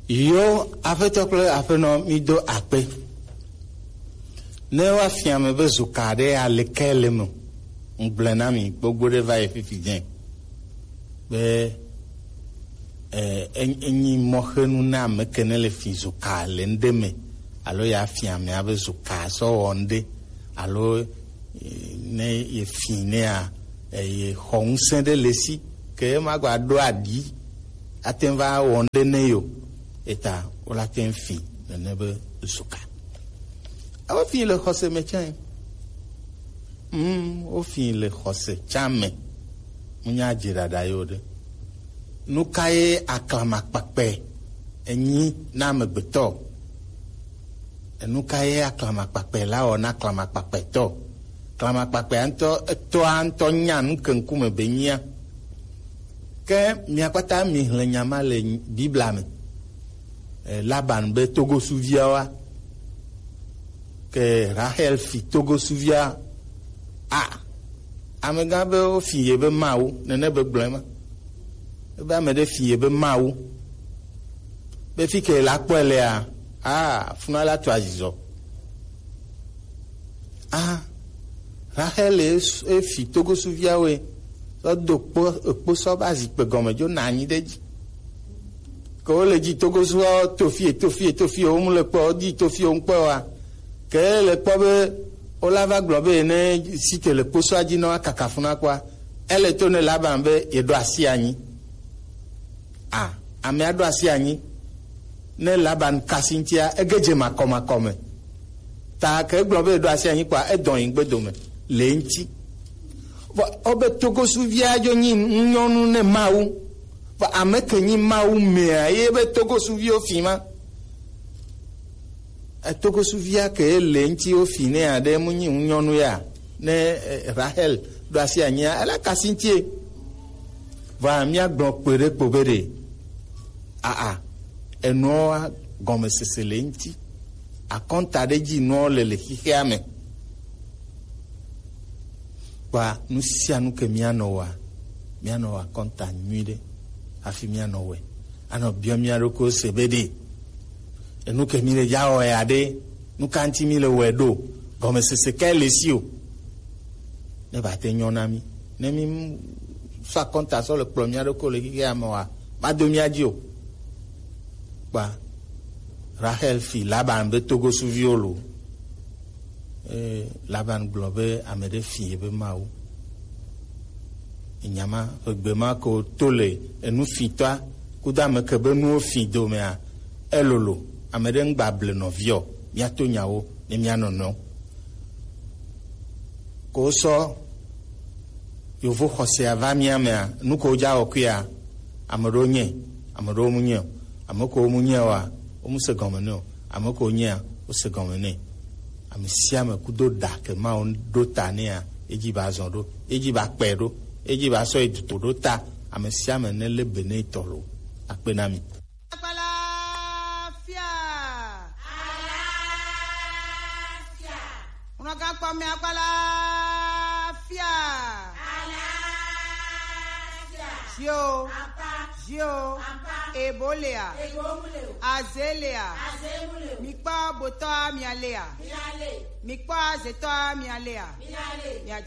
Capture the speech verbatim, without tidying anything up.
Yo, aƒetɔ kple aƒenɔ, mi do akpe. Ne woafia ame be zuka ɖe aleke le me, ŋgblẽ na mi gbogbo ɖe va yi fifi dzẽ be, eh, en-, enyi mɔxenu na ame ke ne le fi zuka le ŋɖe me, alo ya fia amea be zuka sɔ wɔ ŋɖe, alo, eh, ne ye fi nea, eh, ye xɔ ŋusẽ ɖe le si, ke ema gba ɖo aɖi, ate ŋu va wɔ ŋɖe ne yo, eta wola te ŋu fi nene be zuka. Ewo fi le xɔse me tsã. Hmm, wo fi le xɔse tsã me. Munya dze ɖaɖa yo ɖe. Nu ka ye aklamakpakpe enyi na amegbetɔ? Enu ka ye aklamakpakpe la wɔ na aklamakpakpetɔ? Aklamakpakpea ŋutɔ, etɔa ŋutɔ nya nu ke ŋkume be nyia. Ke mia kpata mi hlẽ nya ma le Biblia me. Eh, Laban be togosuviawoa, ke Rahel fi togosuvia. A, amegã be wo fi ye be Mawu, nene be gblɔe ma. Ebe ame ɖe fi ye be Mawu. Be fi ke la kpɔe lea, a, funa la to azizɔ. A, Rahel e s-, e fi togosuviawoe, sɔ do kpo, ekpo sɔ ba zikpe gɔme dzo na anyi ɖe dzi. Ke wo le dzi togosuviawo to fie, to fie, to fie, wo mu le kpɔ, wo di to fie, wo ŋkpɔ wa. Ke le kpɔ be, wo la va gblɔ be ne si te le kposɔa dzi nɔ akaka funa kpɔa, ele to ne Laban be ye ɖo asi anyi. A, amea ɖo asi anyi. Ne Laban kasi ŋutia, ege dze makɔmakɔ me. Ta ke egblɔ be eɖo asi anyi kpɔa, edɔ yi gbe dome le eŋuti. Vɔ, wobe togosuvia dzo nyi nyɔnu ne Mawu. Vɔ, ame ke nyi Mawu mea, ye be togosuviwo fi ma. Etogosuvia ke le ŋuti wo fi ne aɖe mu nyi nyɔnu ya. Ne, eh, Rahel ɖo asi anyia, ele kasi ŋutie. Vɔ, míagblɔ kpe ɖe kpo be ɖe, aa, enuawo gɔmesese le eŋuti. Akɔnta ɖe dzi nuawo le le xexea me. Kpa nu sia nu ke míanɔ wɔa, míanɔ wɔ akɔnta nyui ɖe hafi míanɔ wɔe. Anɔ biɔ mía ɖokuiwo se be ɖe, enu ke mi le dza wɔ ya ɖe, nu ka ŋuti mi le wɔe ɖo, gɔmesese kae le si o. Ne ba te nyɔ na mi. Ne mi sɔ akɔnta sɔ le kplɔ mía ɖokuiwo le xexea me wa, ma do mía dzi o. Kpa Rahel fi Laban be togosuviwo lo. Eye Laban gblɔ be ame ɖe fi ye be Mawu. Enya ma ƒe gbe ma ko to le enu fitɔa kudo ame ke be nuwo fi domea, elolo. Ame ɖe ŋgba ble nɔviɔ, míato nyawo ne míanɔnɔ. Ko sɔ yovo xɔsea va mía mea, nu ko dza wɔkuia, ame ɖewo nye, ame ɖewo mu nye o. Ame ko mu nye oa, wo mu se gɔme nɛ o. Ame ko nyea, wo se gɔme nɛ. Ame sia ame kudo ɖa ke Mawu ɖo ta nɛa, edzi ba zɔ ɖo, edzi ba kpɛ ɖo, edzi ba sɔ yi duto ɖo ta. Ame sia ame ne le be ne tɔ lo. Akpe na mi. Akpalafia. Alafia. Unɔgã kpɔ mi akpalafia. Alafia. Zio. Apa. Zio. Apa. Ebo lea. Ebo mu le o. Aze lea. Aze mu le o. Mi kpɔ botɔ mia lea. Mia le. Mi kpɔ azetɔ mia lea. Mia le. Mia di.